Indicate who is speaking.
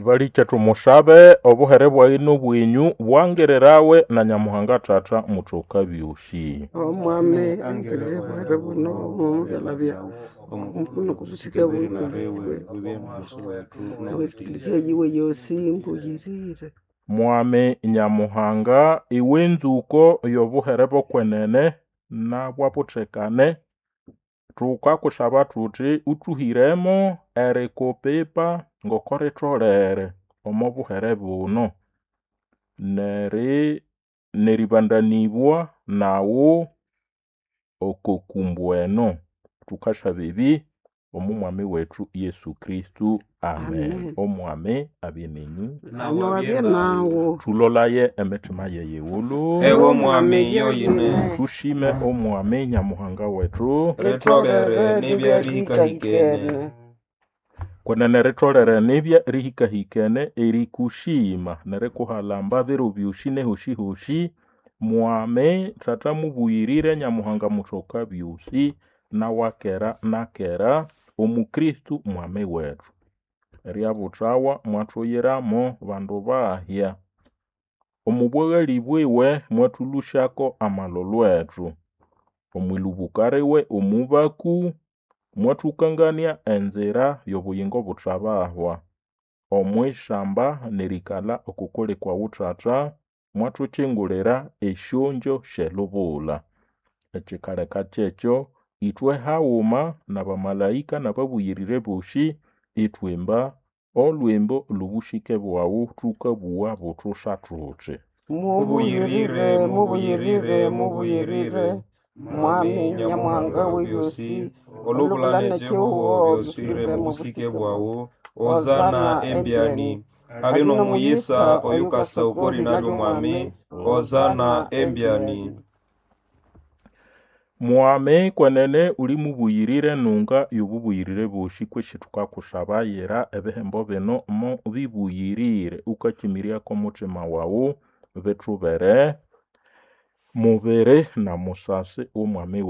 Speaker 1: Balikye tumushabe obuhere bwayi n'obwenyu bwangirirawe na Nyamuhanga Tata muthoka byosi.
Speaker 2: Omwami angirire buhere buno omubyalha byawu omukono kubusike bwekilisia yiwe yosi mbuyirire.
Speaker 1: Mwami Nyamuhanga iwe nzuko y'obuhere bw'okwenene nabwabuthekane, thukakushaba thuthi uthuhiremo erikupipa ngoko ritholere omo buhere buno neribandanibwa naghu oko kumbu eno. Thukasaba ebi omo mwami wethu Yesu Kristo. Amen.
Speaker 2: Amen.
Speaker 1: Omwami abye nenyu.
Speaker 2: Nawabye nawu.
Speaker 1: Thulolaye emitima yeyighulhu.
Speaker 3: Ewe Mwami yoyine.
Speaker 1: Thushime Omwami Nyamuhanga wethu.
Speaker 3: Ritholere nibya rihikahikene.
Speaker 1: Kwenene ritholere nibya rihikahikene erikushima nerikuhalamba biro byosi nehosi-hosi. Mwami Tata mubuyirire Nyamuhanga muthoka byosi nawakera nakera omu Kristo Mwami wethu. Eryabuthawa mwathuyiramo bandu bahya. Omu bwaghali bwiwe mwathũlũsyako amalholo ethu. Omwilubuka liwe omubaku mwathũkangania enzira y'obuyingo buthabahwa. Omwishamba nerikalha okukuli kwawu Tata, mwathukyingulira esyongyo sy'elubula. Ekyikaleka kyekyo ithwe haghuma n'abamalaika n'ababuyirire bosi ithwimba olhwimbo lw'obusike bwaghu thukabugha buthusha thuthi.
Speaker 3: Mubuyirire, mubuyirire, mubuyirire, Mwami Nyamuhanga w'ebyosi, olubula n'ekihugo byoswire mu busike bwawu, Hosana embyani. Ali n'omuyisa oyukasa oko lina ly'Omwami, Hosana embyani.
Speaker 1: Mwami kwenene uli mubuyirire nunga y'obubuyirire bosi kwesi thukakushabayira ebihembo bino mo bibuyirire ukakyimiryako omuthima waghu bithubere mubiri na musasi w'Omwami.